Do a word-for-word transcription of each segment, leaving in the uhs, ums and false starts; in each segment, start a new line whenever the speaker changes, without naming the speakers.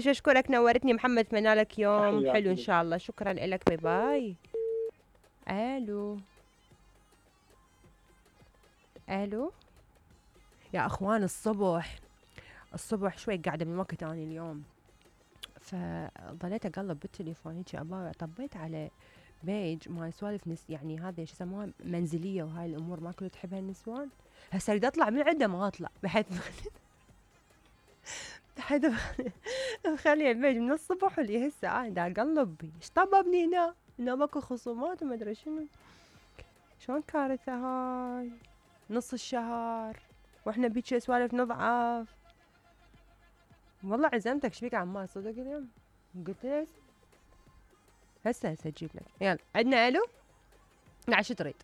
اشكرك نورتني محمد، اتمنى لك يوم
تحياتي
حلو ان
لك.
شاء الله. شكرا لك، باي باي. الو الو يا اخوان، الصبح الصبح شوي قاعده من وقت اني اليوم، فظليت اقلب بالتليفون هيك ابا، طبيت على بيج ما سوالف نس يعني هذه شو يسموها منزليه وهاي الامور ما كل تحبها النسوان. هسه اريد اطلع من عنده ما اطلع بحيث بحيث مخلي البيج من الصبح واللي هسه انا دا اقلب ايش طببني هنا هنا ماكو خصومات وما ادري شنو. شلون كارثه هاي، نص الشهر واحنا بيك سوالف نضعف. والله عزمتك شبيك عمال صدق اليوم؟ قلت له هسه هسه اجيب لك. يلا عندنا الو. نعم شو تريد؟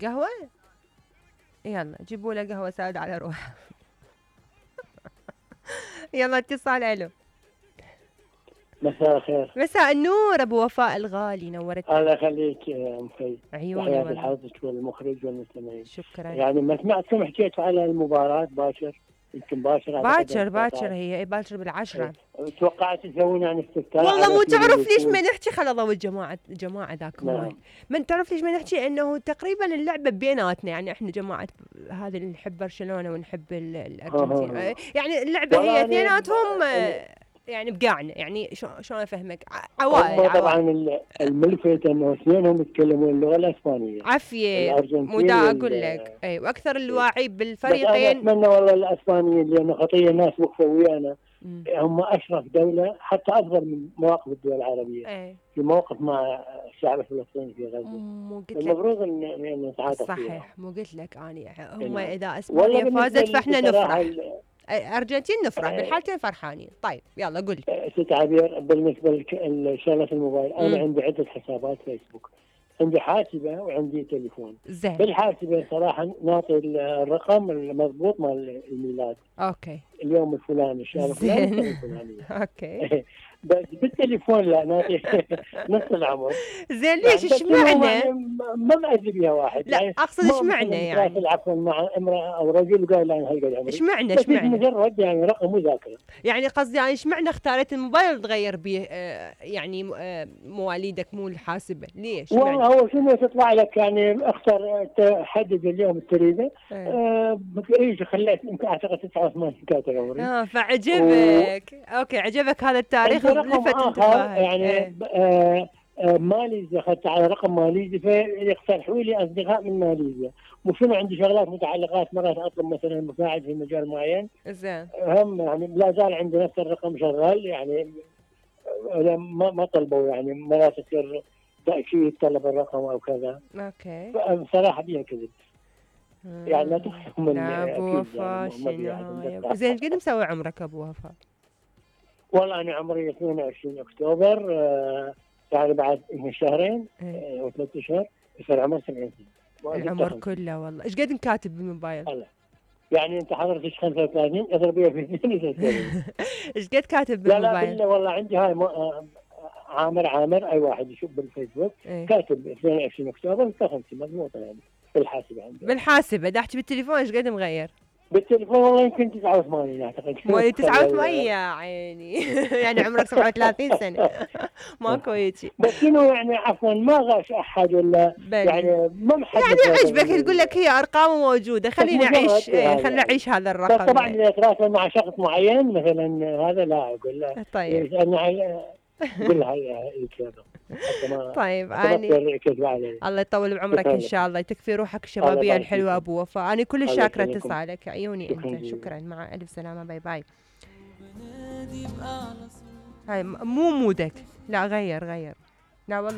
قهوة؟ يلا جيبوا له قهوة سادة على روحه. يلا اتصال. الو
مساء الخير.
مساء النور ابو وفاء الغالي، نورتني.
الله يخليك يا ام في.
عيوني
تحياتي
والله.
لحضرتك والمخرج والمستمعين.
شكرا.
يعني ما سمعتكم حكيتوا على المباراة باكر، يمكن باكر
باكر باكر هي اي باكر بالعشرة.
توقعت تسوون يعني استفتاء؟
والله مو تعرف ليش ما نحكي خل ضوء الجماعة جماعة ذاك
نعم.
ماي. من تعرف ليش ما نحكي انه تقريبا اللعبة بيناتنا، يعني احنا جماعة هذه اللي نحب برشلونة ونحب ال- الارجنتين.
آه.
يعني اللعبة
والله
هي
أنا-
اثنيناتهم
أنا-
يعني بقعنا، يعني شو شلون افهمك، عوائل
هم طبعا
عوائل.
ال- الملفت انه اثنينهم يتكلمون اللغة الاسبانية.
عافية.
الارجنتين
مو دا
وال-
اقول لك اي، واكثر الواعي
بس انا
بالفريقين.
اتمنى والله الاسبانيين لانه خطية الناس وقفوا ويانا،
مم.
هم اشرف دولة حتى افضل من مواقف الدول العربية
اي
في موقف مع الشعب الفلسطيني في غزة.
مو قلت لك
المفروض ان ان نتعاطف فيها.
صحيح، مو قلت لك اني هم
نعم.
اذا
والله
اسبانيا
بالنسبة
فازت
لي
فاحنا
بصراحة
نفرح. ارجنتين نفرح بالحالتين فرحانين. طيب يلا قول.
ست عبير، بالنسبة لشغلة الموبايل، أنا
مم.
عندي عدة حسابات فيسبوك، عندي حاسبة وعندي تليفون.
زين.
بالحاسبة صراحة نعطي الرقم المضبوط مال الميلاد،
اوكي
اليوم الفلاني، الشهر الفلاني، السنة
زين.
الفلانية.
اوكي
بس بالتليفون لا، نعطي نص العمر.
زين. ليش
بس إنه
اشمعنى؟
يعني ما مأذي بها واحد.
لا
يعني
اقصد
ما
اشمعنى
مثلاً
يعني؟
تراسل عفوا مع امرأة أو رجل وقال لا أنا هالقد عمري.
اشمعنى
بس
اشمعنى؟
مجرد يعني رقم مذاكرة.
يعني قصدي يعني اشمعنى اختاريت الموبايل تغير به آه يعني آه مواليدك مو الحاسبة؟ ليش؟
والله
اشمعنى؟
هو شنو تطلع لك يعني اختر تحدد اليوم اللي تريده.
ايه.
آه ايش خليت يمكن اعتقد تسعة وثمانين كاتب عمري.
اه فعجبك. و... اوكي عجبك هذا التاريخ
عندي رقم
لفت
اخر
انتباهك.
يعني
ايه.
آه آه ماليزيا، اخذت على رقم ماليزي فيقترحوا لي اصدقاء من ماليزيا. وشنو عندي شغلات متعلقات، مرات اطلب مثلا مساعد في مجال معين،
زين.
هم يعني لا زال عندي نفس الرقم شغال يعني. آه، ما ما طلبوا يعني مرات تصير تأكيد طلب الرقم او كذا.
اوكي.
بصراحة بيها كذب. يعني لا تخافوا من
لا ابو
أكيد
وفاء
يعني ما في أحد
شنو
من
هاي؟ زين قد مسوي عمرك ابو وفاء؟
والله أنا عمري اثنين وعشرين أكتوبر، آه يعني بعد شهرين
ايه.
آه وثلاث أشهر يصير عمر سبعين سنة.
العمر كله والله. ايش قد مكاتب بالموبايل؟
الله. يعني أنت حضرتك خمسة وثلاثين اضربيها في اثنين وثلاثين.
ايش قد كاتب
لا لا
بالموبايل؟
بالله والله عندي هاي م... آه عامر عامر أي واحد يشوف بالفيسبوك
ايه.
كاتب اثنين وعشرين أكتوبر ستة وخمسين مضبوطة يعني بالحاسبة عندي.
بالحاسبة دا احكي بالتليفون ايش قد مغير؟
بالتليفون والله يمكن تسعة وثمانين اعتقد.
مواليد تسعة وثمانين يا عيني. يعني عمرك سبعة وثلاثين سنة. ماكو هيجي.
بس شنو يعني عفوا ما غاش احد ولا
بلي.
يعني ما محدد.
يعني عجبك تقول لك هي ارقام موجودة خليني اعيش ايه خليني اعيش هذا
بس
الرقم.
طبعا
يعني.
اذا اتراسل مع شخص معين مثلا هذا لا اقول له
طيب.
يسالني على قول هاي الكلام.
طيب اني
كذب علي.
الله يطول بعمرك ان شاء الله، تكفي روحك الشبابيه الحلوه ابو وفاء. انا كل شاكره اتصالك عيوني انت. شكرا مع الف سلامه. باي باي. هاي مو مودك. لا غير غير. لا والله